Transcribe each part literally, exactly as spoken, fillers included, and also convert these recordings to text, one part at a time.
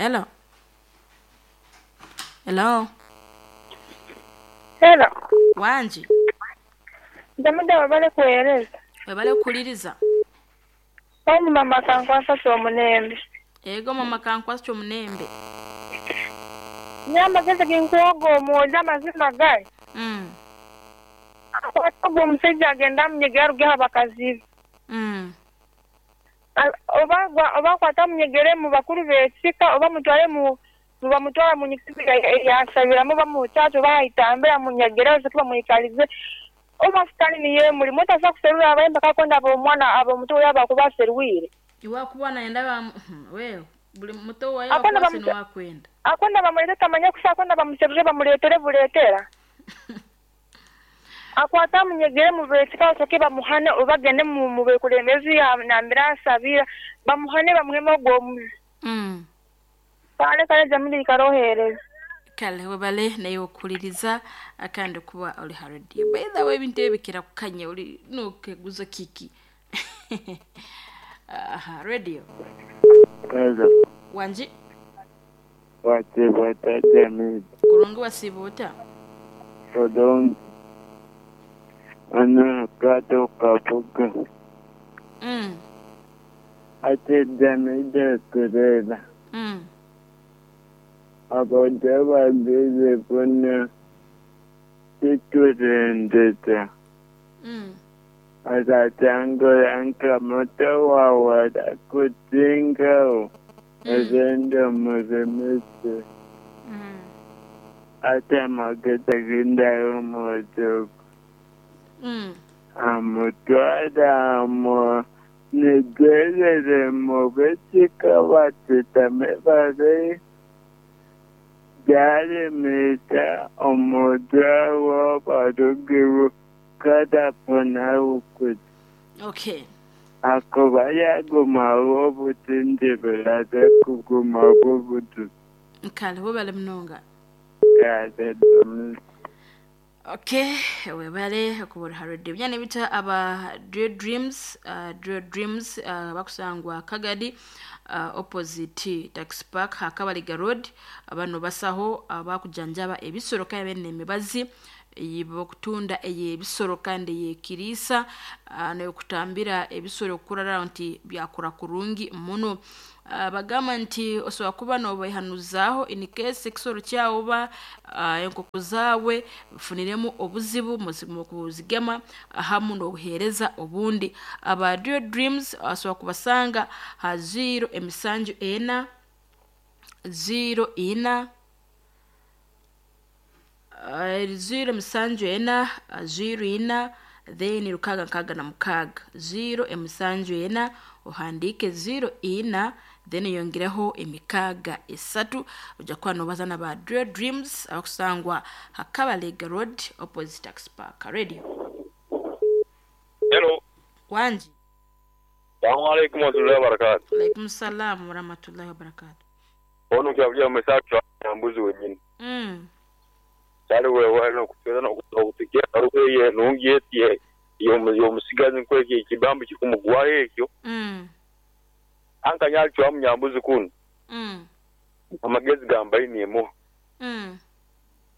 Hello. Hello. Hello. Wangi. Ndamuda wabale kuweereza. Webale kukuliriza. Oni mama kankwasa ky'omunembe. Ego mama kankwasa ky'omunembe. Nye amagezi ginkuwoga omwojo amazima gali. Mm. Akwata ogwo omusajja agenda amunyegere arugeho abakazi be. Mm. Oba oba akwata amunyegere mu bakuru b'ekika oba mutware mu bamutwara mu nyikirizo yasabiramu bamucaca oba ayitambira amunyegere osooke bamwikalize oba sitaani niyo emurimu otasobola kuserura abayimbi akakonda ab'omwana ab'omuto we abakuba aserwire. Iwakuba nayenda ba wewe buli muto wayo Akonda wakwase bamuta- niwakwenda. Akonda bamulete tamanya kusa akonda bamuserure bamuleetere buleetera. Akwata amunyegere mu b'ekika osooke bamuhane oba agende mu mu bekulembezi nambere asabira bamuhane bamuheme ogwo omuzi. Mm. Kale kale Jamili ikarohereza. Kale webale naye okuliriza akandi kuba oli ha radio. By the way ebintu ebyo bikira kukanya oli nokeguza kiki. Aha, radio. Hello. Wangi. Wasiibota Jamil. Kurungi wasiiba ota? Bulungi. Ono kato kabuga. Mm. Ate Jamil kureba. Mm. Abantu babiri buna kiturendeza. Mm. Atatangura nka muto wawe akutingaho. Agenda muremese. Mm. Ate amagezi agendayo omuzugu. Mm. Amutwara amu nigerere mu bekika batutame bare byaremesa omujwa barugiru kadaponawukuti. Okay. Akuba yagumawo obutindi bulaze kugumawo obutu. Kale webale munonga. Kale Dominic. Okay, webale okubura ha radio. Byane bita aba Dream Dreams, uh, Dream Dreams uh, bakusangwa Kagadi uh, opposite Tax Park Hakabaliga Road. Abano basaho abakujanjaba ebisoro kandi bene emibazi ey'okutunda ey'ebisoro kandi ey'ekiriisa uh, n'okutambira ebisoro kurara nti byakura kurungi muno. Uh, bagamba nti osobola kuba nobehanuzaaho in case ekisoro kyawe oba uh, enkoko zaawe bifuniremu obuzibu mu kuzigema hamu n'obuheereza obundi. Aba Dio Dreams osobola kubasanga ha zero emisanju ena zero ina uh, zero emisanju ena zero ina then rukaga nkaga na mukaga zero emisanju ena ohandike zero ina then yongereho emikaga esatu ojja kuba nobaza na ba Dream Dreams abakusangwa Hakabalega Road opposite Tax Park. Radio. Hello. Wanji. Assalamu alaikum warahmatullahi wabarakatuh. Alaikum salam warahmatullahi wabarakatuh. Ono kyabuja mesatu mbuzi wenyini. Mm. Kale wewe no kutweza no kutukia aruke nungi eti yomusigazi nkweke ekibambo kikumugwaho ekyo. Mm. Anka nyali wa munyambuzi kuno. Mm. Amagezi gambaye niemo. Mm.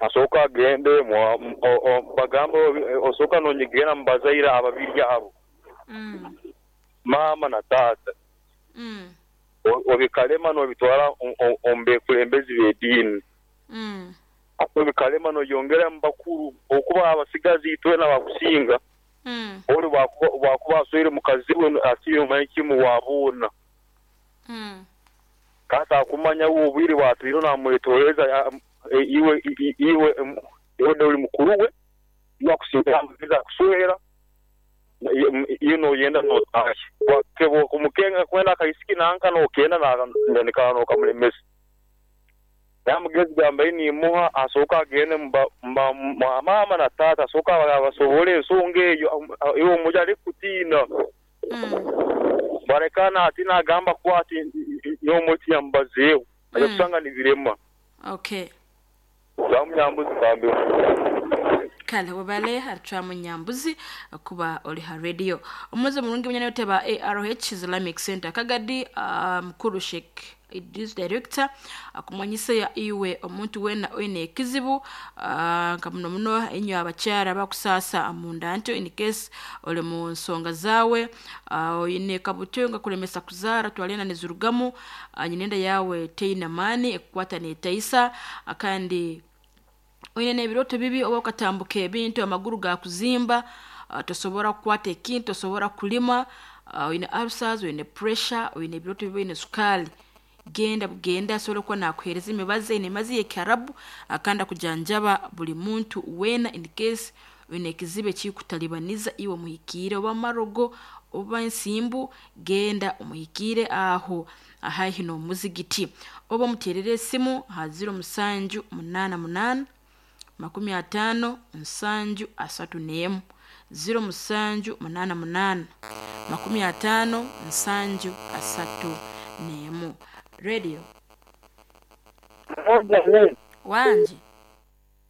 Asooka agende bagamba osooka nonyegera mubazaire ababiri abo. Mm. Mama na tata. Mm. Obikalema nobitwara ombekulembezi b'eddiini. Mm. Obikalema noyongera mu bakuru okuba abasigazi itwena bakusinga. Mm. Oli bwakuba aswire mukazi we asiire omanyi kimu wabuuna. Mm. Kata akumanya obwire bwatwire namwetooreza iwe iwe iwe ori mukuru we yakusinga amagezi akuswera iyo noyenda notahe wakebo kumukenga kwenda akaisiki nanka nokenda nanikana nokamulemesa. Amagezi gambaye nimuha asooka agende mama na tata asooka basobole ensonga eyo iwe omuja arikutiina. Mm. Barekana ati nagamba ku ati n'omuti yambazeeho aja kusanga nibirema. Okay. Bamunyambuzi kambe. Kale webale aritwamu Nyambuzi kuba oli ha radio. Omuze mulungi munyana yoteba A R H Islamic Center Kagadi, uh, mukuru Sheikh Idris director akumanyisa ya iwe omuntu wena oine ekizibu, uh, nka muno muno inyo abakyara bakusasa munda nto in case oli mu nsonga zawe, uh, oine kabuto nga kulemesa kuzara twalena nezurugamu, uh, nyinenda yawe teina mani ekukwata netaisa, uh, kandi oine n'ebiroto bibi oba okatambuka ebintu amaguru gakuzimba, uh, tosobora kukwata ekintu, tosobora kulima, uh, oine ulcers, oine pressure, oine ebiroto bibi, oine sukali, genda bugenda asobora kuba nakuhereza emibazi, ine emibazi y'ekiarabu, akanda kujanjaba buli muntu wena in case oine ekizibu ekikutalibaniza iwe muhikiire oba marogo oba ensimbu, genda omuhikiire aho haihi n'omuzigiti, oba omuterere esimu ha ziro musanju munaana munaana makumi atano nsanju asatu n'emu, ziro musanju munaana munaana makumi atano nsanju asatu n'emu. Radio wanje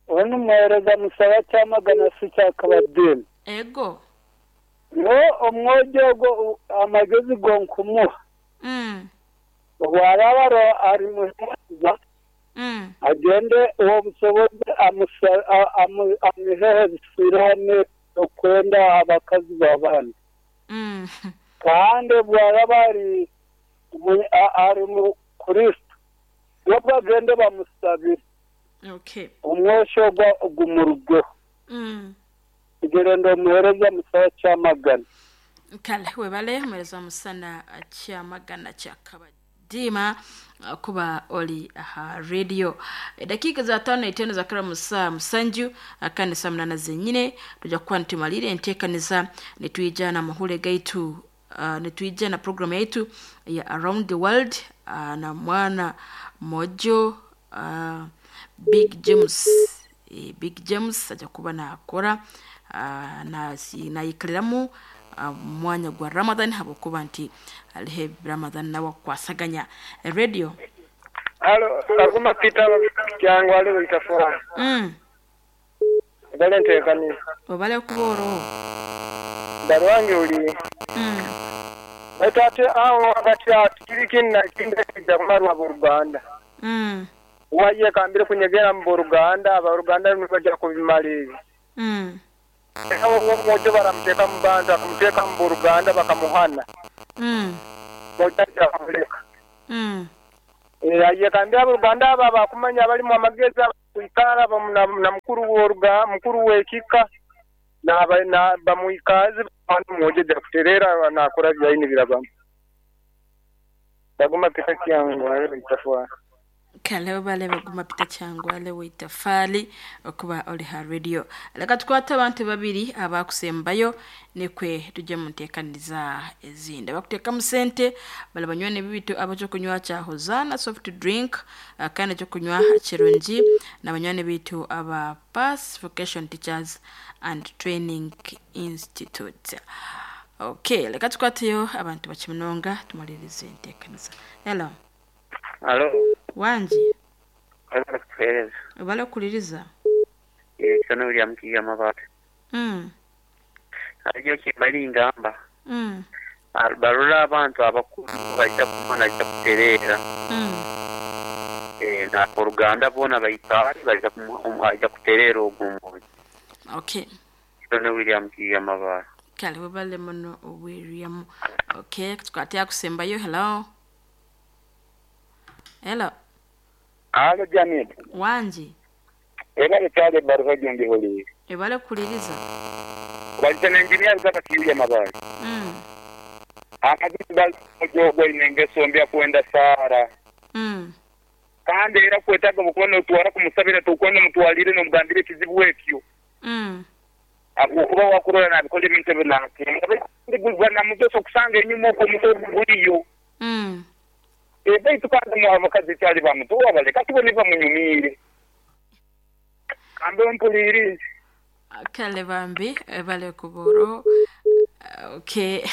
ono muhereza musaba cyamagana si cyakabadeni ego no omwojo amagezi gonkumuha mm warabaro ari muheza mm agende uwo busobozi amuhehe bisirane okwenda abakazi babana mm kandi bwarabari ari mu Kristo bagende bamusabire. Okay. Umwosho gumurugo mm igерendo muhereza musaba cyamagana. Kale webale muhereza musana cyamagana cyakabadima kuba oli aha radio. Dakika za tano na itano za kara musa musanju akane saa munana zenyine tuja kuba nitumalire enteekaniza nitwija na mahule gaitu, uh, nitwija na program yaitu ya Around the World, uh, na mwana mojo uh, Big James, e, Big James aja kuba nakora uh, na nayikaliramu uh, mwanya gwa Ramadan habokuba nti alihe Ramadan nawe kwasaganya radio. Halo aguma Peter cyangwa ali bitafora mm balente kani obale kuboro darwange uli mm batate awo wakati atikiriki na kinde jamarwa mu Rwanda mm waye kambire kunyegera mu Rwanda aba Rwanda nibajya kubimalira mm awo mwojo baramuteka mu bantu akamuteka mu Rwanda bakamuhana mm mwojo akamuleka mm eh kambire abo Rwanda aba bakumanya bali mu amageza kuikara na mukuru w'oruga mukuru w'ekika na na bamuikazi bantu mwojo jakuterera nakora byaini birabamo baguma pita cyangwa ari bitafwa. Kale bale baguma pita cyangwa ale witafali okuba oli ha radio. Leka tukwata abantu babiri abakusembayo nikwe tujye mu nteekaniza ezindi. Bakuteka mu sente bale banywane bibitu abacho kunywa cha Hozana soft drink, kandi cyo kunywa kirungi na banywane bitu aba Pass Vocation Teachers and Training Institute. Okay, leka tukwateyo abantu bakimunonga tumalirize enteekaniza. Hello. Halo. Wanji. Alikueleza. Ubale kuliriza. Eh, sana William Kiga mabate. Mm. Ajo kibali ngamba. Mm. Barula abantu abakuru bajya kumana ajya kuterera. Mm. Eh, na Rwanda bona bayitari bajya kumajya kuterera ogumo. Okay. Sana William Kiga mabate. Kale webale muno William. Okay, tukatia kusembayo. Hello. Hello. Alo Jamil. Wanji. Ebale cyale baruha gende holi. Ebale kuliriza. Walitana engineer zaka kiuya mabali. Mm. Akazi bal jogo inengeso mbya kuenda sara. Mm. Kandi era kwetaga mukono otwara kumusabira tukwenda mutwalire no mugambire kizibu ekyo. Mm. Akuba wakurora nabikole ebintu binake. Ndiguzwa na mutoso kusanga enyuma okwo mutogo guliyo. Mm. Ebe tukanda mu abakazi cyali bamutuwa baleka tubone bamunyumire. Kambe mpuliri. Kale bambi bale kuboro. Okay.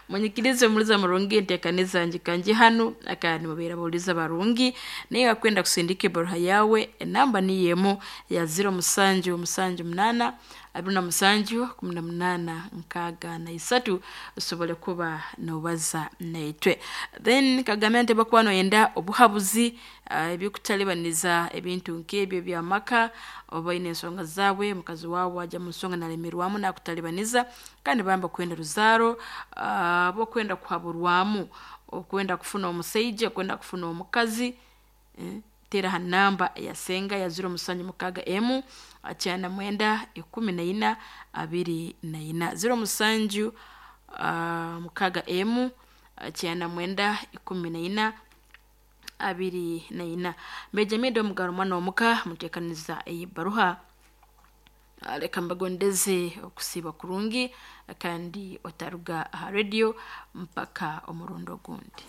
Munyikirize muliza murungi enteekaniza njikanje hanu akandi mubeera bawuliza barungi, naye akwenda kusindika ebaruha yawe enamba niyo emu ya ziro musanju musanju munana abiri na musanju kumi na munana nkaaga na isatu, osobole kuba nobaza naitwe. Then kagambye nti bakuba noyenda obuhabuzi ah, ebyokutalibaniza ebintu nk'ebyo ebyamaka, oba oyine ensonga zaabwe, mukazi waawe ajya mu nsonga nalemerwamu nakutalibaniza, kandi bamba kwenda ruzaaro, ah, bokwenda kuhaburwamu, okwenda kufuna omusaija, okwenda kufuna omukazi, eh, teera ha namba ya senga ya ziro musanju mukaaga emu kyana mwenda ikumi na ina abiri na ina, ziro musanju ah, mukaaga emu kyana mwenda ikumi na ina abiri na ina. Mbejamide omugaro mwana omuka muteekaniza eyibaruha. Ah, leka mbagondeze okusiiba kurungi kandi otaruga aha radio mpaka omurundo ogundi.